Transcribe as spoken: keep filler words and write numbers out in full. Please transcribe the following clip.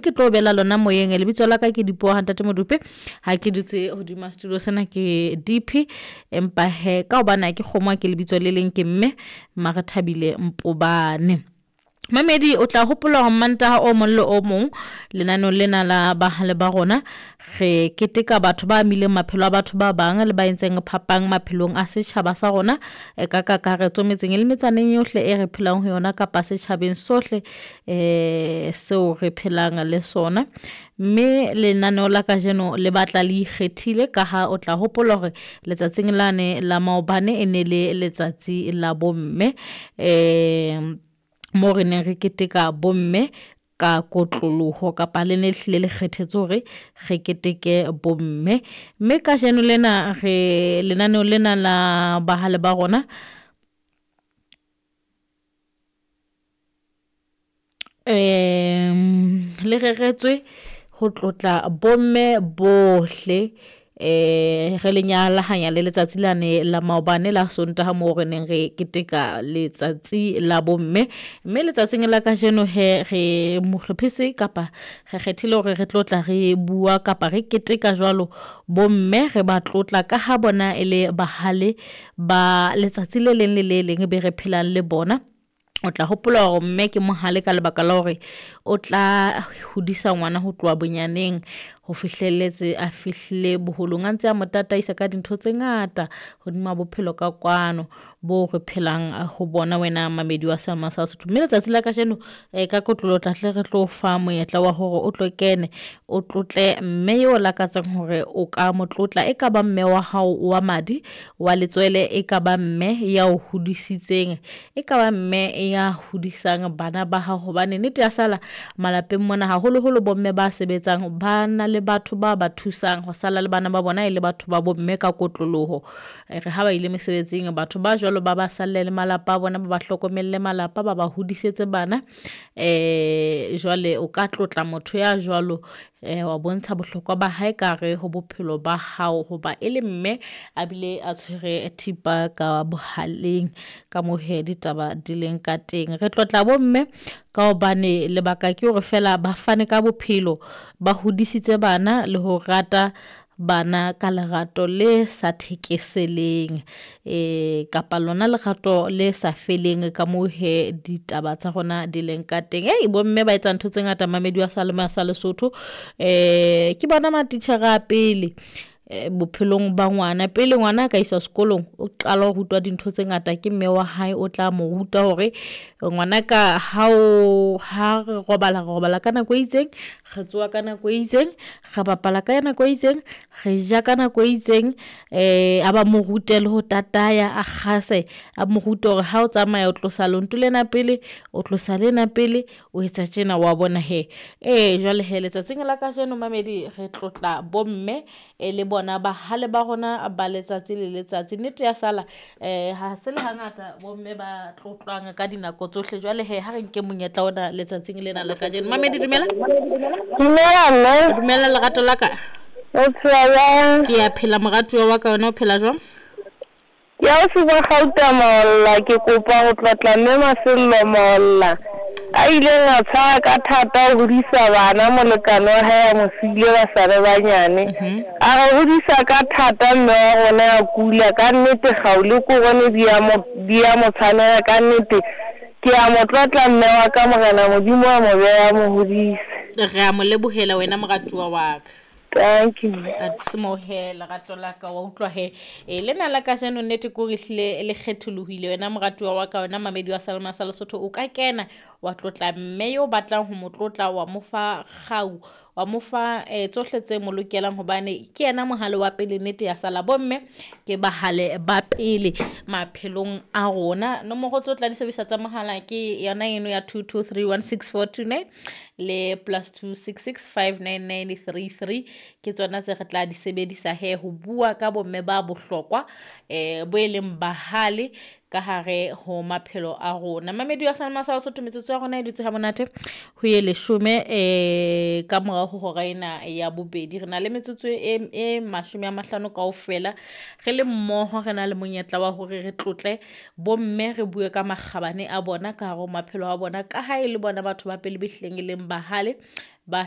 Ke tlo bela lona moyeng. Lebitso la ka ke Dipuo ha Ntate Modupe, ha ke dutse hodima studio sena ke D P, empa he ka hobane ha ke kgomwa ke lebitso le leng ke mme Marethabile Mpobane. Mamedi o tla hopola hore Mantaha o mong le o mong lenaneo lena la bahale ba rona re keteka batho ba amileng maphelo a batho ba bang le ba entseng phapang maphelong a setjhaba sa rona ka kakaretso metseng le metsaneng yohle e re phelang ho yona kapa setjhabeng sohle eh seo re phelang le sona. Mme lenaneo la kajeno le batla le ikgethile ka ha o tla hopola hore letsatsing lane la maobane e ne le letsatsi la bomme, eh mo re neng re keteka bomme ka kotloloho kapa le ne hlile le kgethetse hore re keteke bomme. Mme kajeno lena re lenaneo lena la bahale ba rona um le reretswe ho tlotla bomme bohle, eh re le nyalahanya le letsatsi lane la maobane la Sontaha moo re neng re keteka letsatsi la bomme. Mme letsatsing la kajeno he re mohlophisi kapa re kgethile hore re tlotla re bua kapa re keteka jwalo bomme, re ba tlotla ka ha bona e le bahale ba letsatsi le leng le le leng be re phelang le bona. O tla hopola hore mme ke mohale ka lebaka la hore o tla hodisa ngwana ho tloha bonyaneng ho fihlelletse a fihlile boholong, a ntse a mo tataisa ka dintho tse ngata hodima bophelo ka kwano bo re phelang ho bona wena mamedi wa Seema sa Sesotho. Mme letsatsi la kajeno ka kotloloho tla hle re tlo fa monyetla wa hore o tlo kene o tlotle mme eo lakatsang hore o ka mo tlotla, e ka ba mme wa hao wa madi wa letswele, e ka ba mme ya o hodisitseng, e ka ba mme ya hodisang bana ba hao, hobane nnete ya sala malapeng mona haholoholo bomme ba sebetsang ba na le batho ba ba thusang ho sala le bana ba bona e le batho ba bomme ka kotloloho. Re ha ba ile mesebetsing batho ba jwalo ba ba salle le malapa a bona, ba ba hlokomelle malapa, ba ba hodisetse bana. Eh jwale o ka tlotla motho ya jwalo, eh wa bontsha bohlokwa ba hae ka re ho bophelo ba hao, hoba e le mme a bile a tshwere thipa ka bohaleng ka moo he ditaba di leng ka teng. Re tlotla bomme ka hobane lebaka ke hore fela ba fane ka bophelo, ba hodisitse bana le ho rata bana ka lerato le sa thekeseleng, eh kapa lona lerato le sa feleng ka moo he ditaba tsa rona di leng ka teng. Ei bomme ba etsa ntho tse ngata mamedi wa Salema sa Lesotho, eh ke bona matitjhere a pele bophelong ba ngwana. Pele ngwana a ka iswa sekolong o qala ho rutwa dintho tse ngata ke mme wa hae, o tla mo ruta hore ngwana ka ha o ha re robala re robala ka nako e itseng, re tsoha ka nako e itseng, re bapala ka nako e itseng, re ja ka nako e itseng. Eh a ba mo rute le ho tataya, a kgase, a mo rute hore ha o tsamaya o tlosa lonto lena pele, o tlosa lena pele, o etsa tjena wa bona he. Eh jwale he letsatsing la kajeno mamedi re tlotla bomme e le bona bahale ba rona ba letsatsi le letsatsi. Nnete ya sala eh ha se le hangata bomme ba tlotlwang ka dinako tsohle. Jwale he ha re nke monyetla ona letsatsing lena la kajeno. Mamedi dumela. Dumela mme. Dumela lerato la ka. O phela jwang? Ke a phela moratuwa wa ka, wena o phela jwang? Ke a o supa Gauta Molla, ke kopa ho tlotla mme Masello Molla a ileng a tshwara ka thata ho hodisa bana, molekane wa hae a mo siile ba sa le banyane. A re hodisa ka thata mme wa rona a kula, ka nnete kgau le korone di a mo di a mo tshwanela, ka nnete ke a mo tlotla mme wa ka, Morena Modimo a mo beha mo hodise. Re a mo lebohela wena moratuwa wa ka. Thank you. Smohe lerato la ka wa utlwa he. E lena la kajeno nnete ko re hlile le kgetholohile wena moratuwa wa ka, wena mamedi wa Salema sa Lesotho, o ka kena wa tlotla mme yo batlang ho mo tlotla, wa mo fa kgau, wa mo fa eh, tsohle tse mo lokelang, hobane ke yena mohale wa pele. Nnete ya sala bomme ke bahale ba pele maphelong a rona. Nomoro tse o tla di sebedisa tsa mohala ke yona eno ya two two three one six four two nine le plus two six six five nine nine three three, ke tsona tse re tla di sebedisa he ho bua ka bomme ba bohlokwa eh bo e leng bahale ka hare ho maphelo a rona. Mamedi wa Salema sa Lesotho, metsotso ya rona e dutse ha monate ho ye leshome eh ka morao ho hora ena ya bobedi. Re na le metsotso e e mashome a mahlano kaofela re le mmoho, re na le monyetla wa hore re tlotle bomme, re bue ka makgabane a bona ka hare ho maphelo a bona, ka ha e le bona batho ba pele behleng e leng bahale Ba